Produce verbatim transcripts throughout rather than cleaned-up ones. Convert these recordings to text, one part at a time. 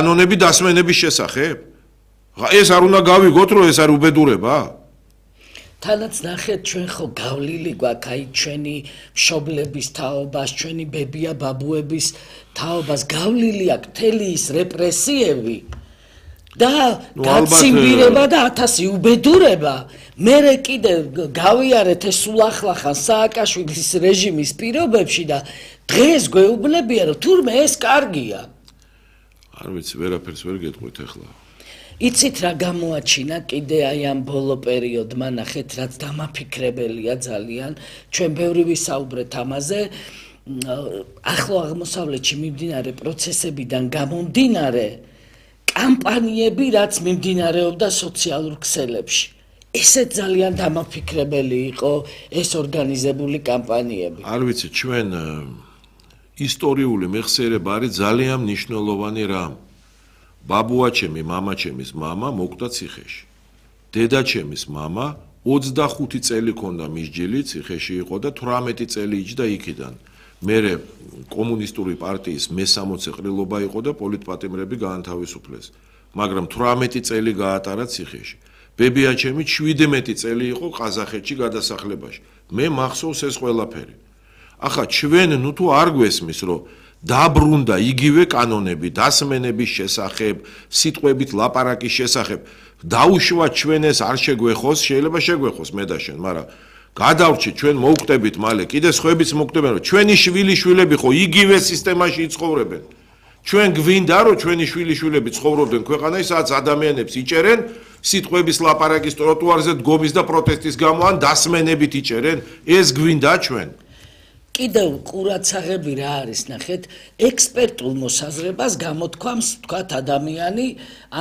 კანონები დასმენების შესახებ? ეს არ უნდა გავიგოთ, რომ ეს არ უბედურება? თანაც ნახეთ ჩვენ ხო გავლილი გვაქვს აი ჩვენი მშობლების თაობას, ჩვენი ბებია ბაბუების თაობას გავლილი აქვს მთელი ის რეპრესიები და გაციმბირება და ათასი უბედურება. მერე კიდე გავიარეთ ეს სულახლახან სააკაშვილის რეჟიმის პირობებში და დღეს გვეუბნებიან რომ თურმე ეს კარგია. არ ვიცი, ვერაფერს ვერ გეტყვით ახლა. იცით რა გამოაჩინა კიდე აი ამ ბოლო პერიოდმა ნახეთ რაც დამაფიქრებელია ძალიან ჩვენ ბევრი ვისაუბრეთ ამაზე ახლო აღმოსავლეთში მიმდინარე პროცესებიდან გამომდინარე კამპანიები რაც მიმდინარეობდა სოციალურ ქსელებში ესე ძალიან დამაფიქრებელი იყო ეს ორგანიზებული კამპანიები არ ვიცი ჩვენ ისტორიული მეხსიერება არის ძალიან მნიშვნელოვანი რამ ბაბუაჩემი მამაჩემის მამა მოკვდა ციხეში. დედაჩემის მამა ოცდახუთი წელი ქონდა მისჯილი ციხეში იყო და თვრამეტი წელი იჯდა იქიდან. მერე კომუნისტური პარტიის მესამოცე ყრილობა იყო და პოლიტპატიმრები გაანთავისუფლეს. მაგრამ თვრამეტი წელი გაატარა ციხეში. ბებიაჩემი შვიდმეტი წელი იყო ყაზახეთში გადასახლებაში. მე მახსოვს ეს ყველაფერი. ახლა ჩვენ ნუ თუ არ გვესმის რომ დაბრუნდა იგივე კანონები დასმენების შესახებ, სიტყვებით ლაპარაკის შესახებ. დაუშვა ჩვენ ეს არ შეგვეხოს, შეიძლება შეგვეხოს მე და შენ, მაგრამ გადავრჩით ჩვენ მოვკვდებით მალე, კიდე სხვაებიც მოვკვდებიან, რომ ჩვენი შვილიშვილები ხო იგივე სისტემაში იცხოვრებენ. ჩვენ გვინდა რომ ჩვენი შვილიშვილები ცხოვრობდნენ ქვეყანაში, სადაც ადამიანებს იჭერენ, სიტყვების ლაპარაკის ტროტუარზე დგომის და პროტესტის გამო ან დასმენებით იჭერენ, ეს გვინდა ჩვენ. კიდევ ყურაცაღები რა არის ნახეთ ექსპერტულ მოსაზრებას გამოთქვამს თქვათ ადამიანი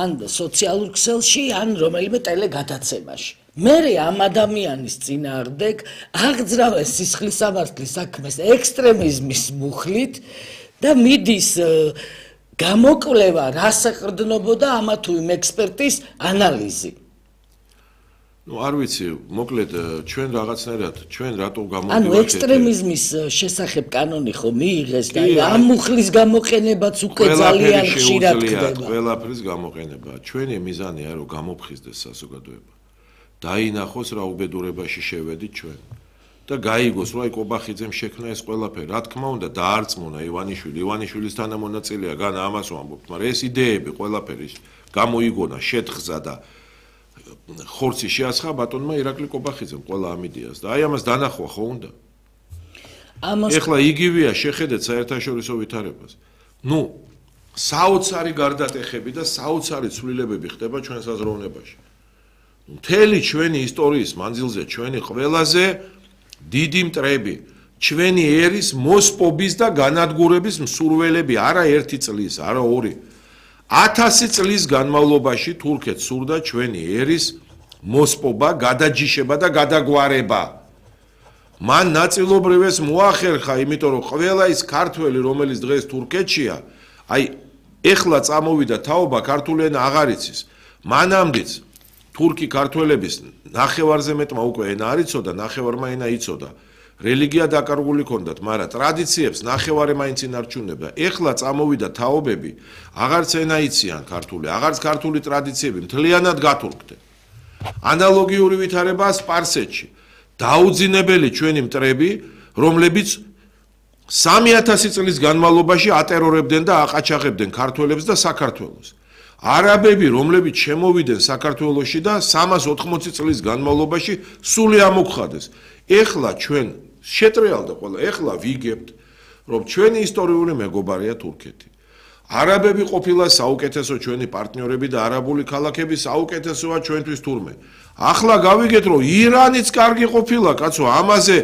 ან სოციალურ ქსელში ან რომელიმე ტელეგადაცემაში მერე ამ ადამიანის წინააღმდეგ აღძრავეს სისხლისამართლის საქმეს ექსტრემიზმის მუხლით და მიდის გამოკვლევა რას ეყრდნობოდა ამა თუ იმ ექსპერტის ანალიზი ну არ ვიცი მოკლედ ჩვენ რაღაცნაირად ჩვენ რატო გამოვიდეთ ანუ ექსტრემიზმის შესახებ კანონი ხო მიიღეს და ამ მუხლის გამოყენებაც უკვე ძალიან ხშირად ხდება ყველაფრის გამოყენება ჩვენი მიზანია რომ გამოფხიზდეს საზოგადოება დაინახოს რა უბედურებაში შევედით ჩვენ და გაიგოს რომ აი კობახიძემ შექმნა ეს ყველაფერი რა თქმა უნდა დაარწმუნა ივანიშვილი ივანიშვილის თანამონაწილეა გან ამას ვამბობთ მაგრამ ეს იდეები ყველაფერი გამოიგონა შეთხზა და ხორცი შეასხა ბატონმა ირაკლი კობახიძემ ყველა ამ იდეას და აი ამას დანახვა ხო უნდა ამას ეხლა იგივეა შეხედეთ საერთაშორისო ვითარებას ნუ საოცარი გარდატეხები და საოცარი ცვლილებები ხდება ჩვენ საზროვნებაში მთელი ჩვენი ისტორიის მანძილზე ჩვენი ყველაზე დიდი მტრები ჩვენი ერის მოსპობის და განადგურების მსურველები არა ერთი წლის არა ორი ათასი წლის განმავლობაში თურქეთს სურდა ჩვენი ერის მოსპობა, გადაჯიშება და გადაგვარება. მან ნაწილობრივ ეს მოახერხა, იმიტომ რომ ყველა ის ქართველი, რომელიც დღეს თურქეთშია, აი ეხლა წამოვიდა თაობა ქართული ენა აღარ იცის. მანამდეც თურქი ქართველების ნახევარზე მეტმა უკვე ენა არ იცოდა, ნახევარმა ენა იცოდა. რელიგია დაკარგული ქონდათ, მაგრამ ტრადიციებს ნახევარი მაინც ინარჩუნებდა. ეხლა წამოვიდა თაობები, აღარც ენა იციან ქართული, აღარც ქართული ტრადიციები მთლიანად გათურქდნენ. ანალოგიური ვითარებაა სპარსეთში. დაუძინებელი ჩვენი მტრები, რომლებიც სამი ათასი წლის განმავლობაში ატერორებდნენ და აყაჩაღებდნენ ქართველებს და საქართველოს. არაბები, რომლებიც შემოვიდნენ საქართველოში და სამას ოთხმოცი წლის განმავლობაში სული ამოგხადეს. ეხლა ჩვენ შეტრიალდა ყველა, ეხლა ვიგებთ, რომ ჩვენი ისტორიული მეგობარია თურქეთი. არაბები ყოფილა საუკეთესო ჩვენი პარტნიორები და არაბული ქალაქები საუკეთესოა ჩვენთვის თურმე. ახლა გავიგეთ, რომ ირანიც კარგი ყოფილა, კაცო, ამაზე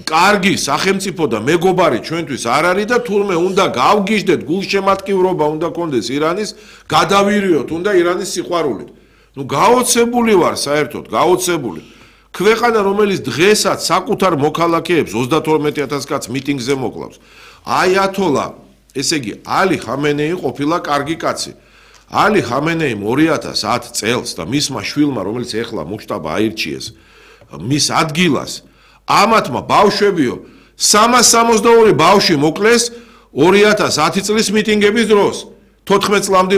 კარგი სახელმწიფო და მეგობარი ჩვენთვის არ არის და თურმე უნდა გავგიჟდეთ, გულშემატკივრობა უნდა კონდეს ირანის, გადავირიოთ უნდა ირანის სიყვარულით. ნუ გაოცებული ვარ საერთოდ, გაოცებული. ქვეყანა რომელიც დღესაც საკუთარ მოქალაქეებს ოცდათორმეტი ათასი კაც მიტინგზე მოკლავს. აიათოლა, ესე იგი, ალი ხამენეი ყოფილა კარგი კაცი. ალი ხამენეიმ ორი ათას ათ წელს და მისმა შვილმა, რომელიც ეხლა მუშტაბა აირჩიეს, მის ადგილას ამათმა ბავშვებიო სამას სამოცდაორი ბავშვი მოკლეს ორი ათას ათი წლის მიტინგების დროს. თოთხმეტ წლამდე